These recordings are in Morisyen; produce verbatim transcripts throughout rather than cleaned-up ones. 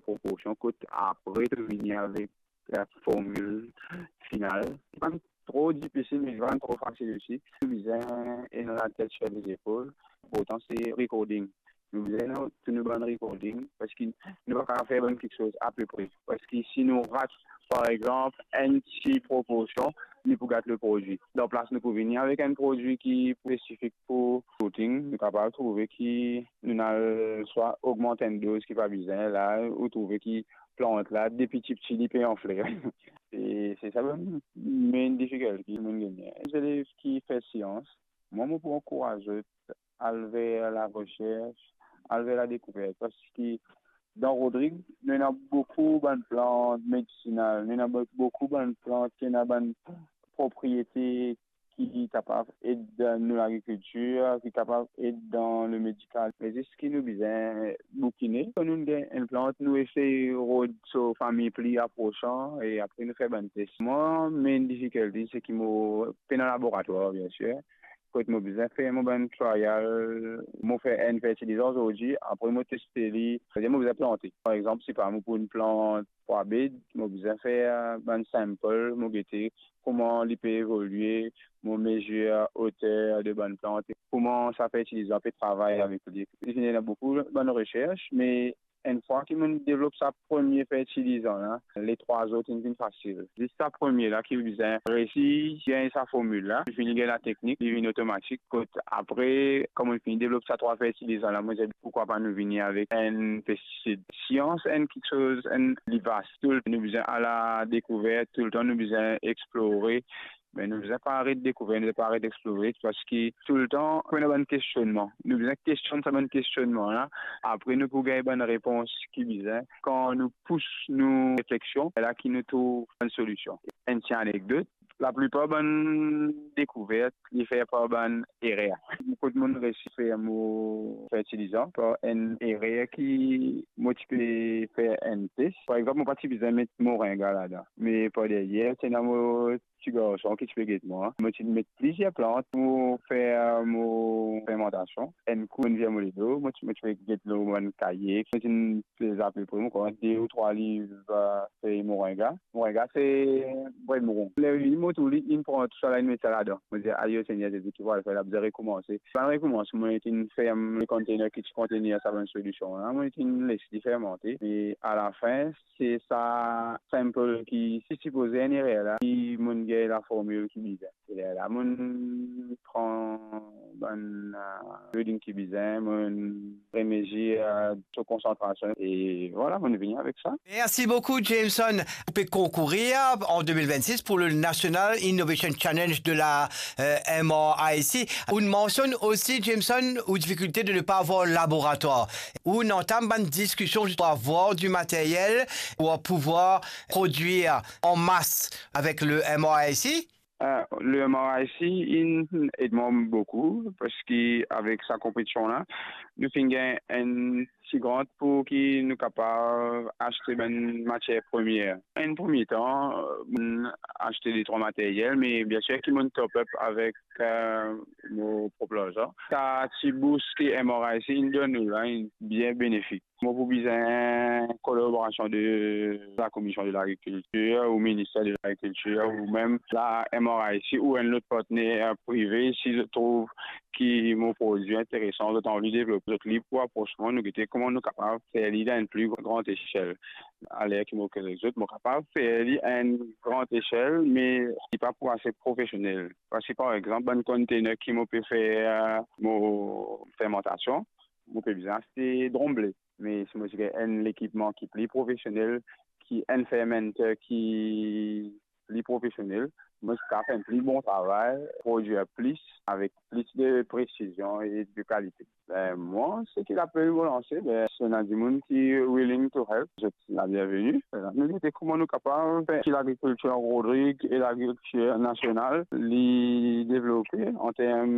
proporsion, kot apre to vini avek la formil final. Li pa tro difisil, me li pa tro fasil osi. To bizin ena latet sir lezepol. Inportan, se recording. Nou bizin ena tou nou bann recording, parski nou pa kapav fer bann kiksoz apepre. Parski si nou rat, par exanp, enn ti proporsion, li pou gat leprodwi. Dan plas nou pou vini avek enn prodwi ki spesifik pou shooting, nou kapav trouve ki nou al swa ogmant enn doz ki pa bizin, la, ou trouve ki plant la, depi tipti, li pe anfle. E se sa bann main difikilte ki monn gagne. Zelev ki fer sians, mwa, mo pou ankouraz zot al ver laresers, al ver ladekouvert, parski dan Rodrig, nou ena boukou bann plant medisinal, nou ena bo-, boukou bann plant ki ena bann propriete ki kapav ed dan nou lagrikiltir, ki kapav ed dan le medikal. Me zis ki nou bizin boukine, kan nou gagn enn plant, nou esey rod so fami pli aprosan e apre nou fer bann tes. Mwa, main difikilte, se ki mo pena laboratwar, biensir. Kot mo bizin fer mo bann trial, mo fer enn fertilizan zordi, apre mo teste li, setadir mo bizin plante. Par exanp, sipa mo pou enn plant pwa bed, mo bizin fer bann sample, mo gete kouma li pe evolie, mo mezir oter de bann plant, kouma sa fertilizan pe travay avek li. Li finn ena boukou bann resers, me enn fwa ki monn devlop sa premie fertilizan la, le trwa zot inn vinn fasil. Zis sa premie la ki bizin resi gagn sa formil la, li finn gagn lateknik, li vinn otomatik. Kot apre, kan monn finn devlop sa trwa fertilizan la, mo dir, poukwa pa nou vini avek enn pestisid? Sians enn kiksoz, enn li vas. Toultan nou bizin al a dekouvert, toultan nou bizin explore. Me nou bizin pa aret dekouver, nou bizin pa aret explore, parski toultan pou ena bann kestionnman. Nou bizin kestionn sa bann kestionnman la, apre nou pou gagn bann repons ki bizin. Kan nou pous nou refleksion, se la ki nou trouv bann solision. Enn ti anekdot, laplipar bann dekouvert, li fer par bann erer. Kot monn resi fer mo fertilizan, par enn erer ki mo ti pe fer enn tes. Par exanp, mo pa ti bizin met moringa ladan. Me par deryer, ti ena mo ti garson ki ti pe get mwa. Mo ti met plizier plant pou fer mo fermantasion. Enn kou, enn vir mo ledo, mo ti, mo ti pe get lor bann kaye. Mo ti pez apepre, mo krwar, de ou trwa liv, eh, fey moringa. Moringa, se bred mouron. Ler li vini, mo trouv li, inn pran tou sa la, inn met sa ladan. Mo dir, "Ayo, Segner Zezi, ki mo pou al fer la, bizin rekoumanse." Bann rekoumans, mo inn ferm le container ki ti kontenir sa bann solision la, mo inn les li fermante. E alafin, se sa sample ki ti sipoze enn erer la, ki monn gagn laformil ki bizin. E lerla monn pran bann, eh, reading ki bizin, monn remezir, eh, so konsantrasion. E vwala, monn vini avek sa. Merci beaucoup, Jameson. Ou pe konkourir en deux mille vingt-six pour le National Innovation Challenge de la, euh, M R I C. Ou mansionn osi, Jameson, ou difikilte de ne pas avoir laboratoire. Ou antam bann diskision pour avoir du matériel, pour pouvoir produire en masse avec le M R I C. Eh, le M R I C inn ed mwa boukou, parski avek sa konpetision la, nou finn gagn enn ti grant pou ki nou kapav aste bann matier premie. Enn premie tan, monn aste de trwa materyel, me biensir ki monn top up avek, eh, mo prop larzan. Sa ti bous ki M R I C inn donn nou la, inn bien benefik. Mo pou bizin kolaborasion de la Commission de l'Agriculture ou Ministère de l'Agriculture ou mem la M R I C ou enn lot partner prive, si zot trouv ki mo prodwi interesan, zot anvi devlop, zot lib pou apros mwa, nou gete kouma nou kapav fer li dan enn pli gran esel. Aler ki mo koz ek zot, mo kapav fer li enn gran esel, me li pa pou ase profesionel. Parski, par exanp, bann container ki mo pe fer, eh, mo fermantasion, mo pe bizin aste drom ble. Me si mo ti gagn enn lekipman ki pli profesionel, ki enn fermenter ki pli profesionel, mo ti kapav fer enn pli bon travay, prodwir plis avek plis de presizion e de kalite. Be, mwa, seki lapel mo lanse, be, si ena dimoun ki willing to help, zot labienveni. Nou gete kouma nou kapav fer ki lagrikiltir Rodrig e lagrikiltir nasional, li devlope an term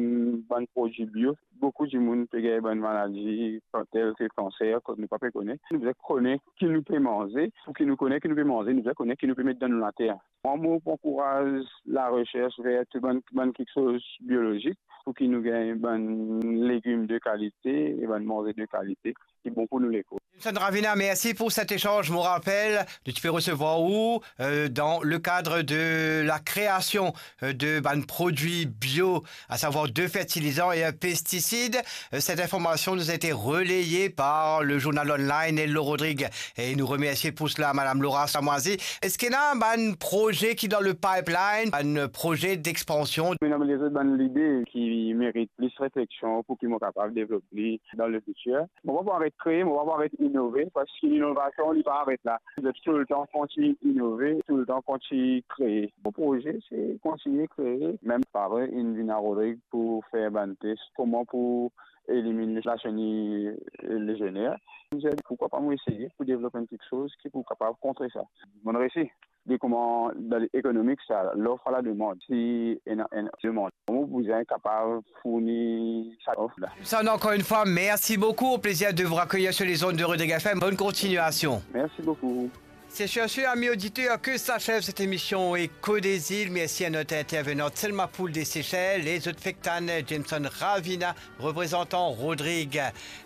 bann prodwi bio. Boukou dimoun pe gagn bann maladi, tel ki kanser, kot nou pa pe kone. Nou bizin kone ki nou pe manze. Pou ki nou kone ki nou pe manze, nou bizin kone ki nou pe met dan nou later. Mwa, mo pou ankouraz laresers ver tou bann, bann kiksoz biolozik, pou ki nou gagn bann legim de kalite e bann manze de kalite. ki bon pou nou lekour. Jameson Ravina, merci pour cet échange. Mon rappel, tu peux recevoir où, euh, dans le cadre de la création, euh, de bann produits bio, à savoir deux fertilisants et un pesticide. Euh, cette information nous a été relayée par le journal online Hello Rodrigue. Et nous remercions pour cela Madame Laura Samoisi. Est-ce qu'il y a un projet qui est dans le pipeline, un projet d'expansion? Mem lezot bann lide ki merit plis refleksion pou ki mo kapav devlop li dan lefitir. Mo pa pou aret kree, mo pa pou aret inove, parski linovasion, li pa aret la. Zot toultan kontign inove, toultan kontign kree. Mo proze, se kontign kree. Mem pa vre, inn vinn a Rodrig pou fer bann tes, kouma pou eliminn laseni lezener. Mo dir, pourquoi pas mo eseye pou devlop enn kiksoz ki pou kapav kontre sa. Mo resi. Li kouma dan ekonomik sa, l'offre à la demande. Si ena enn demann, mo bizin kapav fourni sa lof la. Jameson, encore une fois, merci beaucoup. Au plaisir de vous accueillir sur les ondes de Rodrigue F M. Bonne continuation. Merci beaucoup. C'est sur ce, amis auditeurs, que s'achève cette émission Écho des Îles. Merci à notre intervenante Selma Poul de Seychelles et zot fek tann Jameson Ravina, représentant Rodrigue.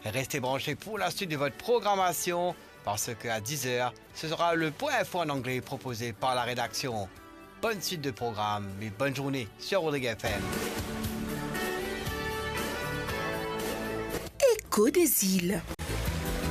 Restez branchés pour la suite de votre programmation, parce que à dix heures, ce sera le point info en anglais proposé par la rédaction. Bonne suite de programme et bonne journée sur Rodrigue F M. Écho des Îles.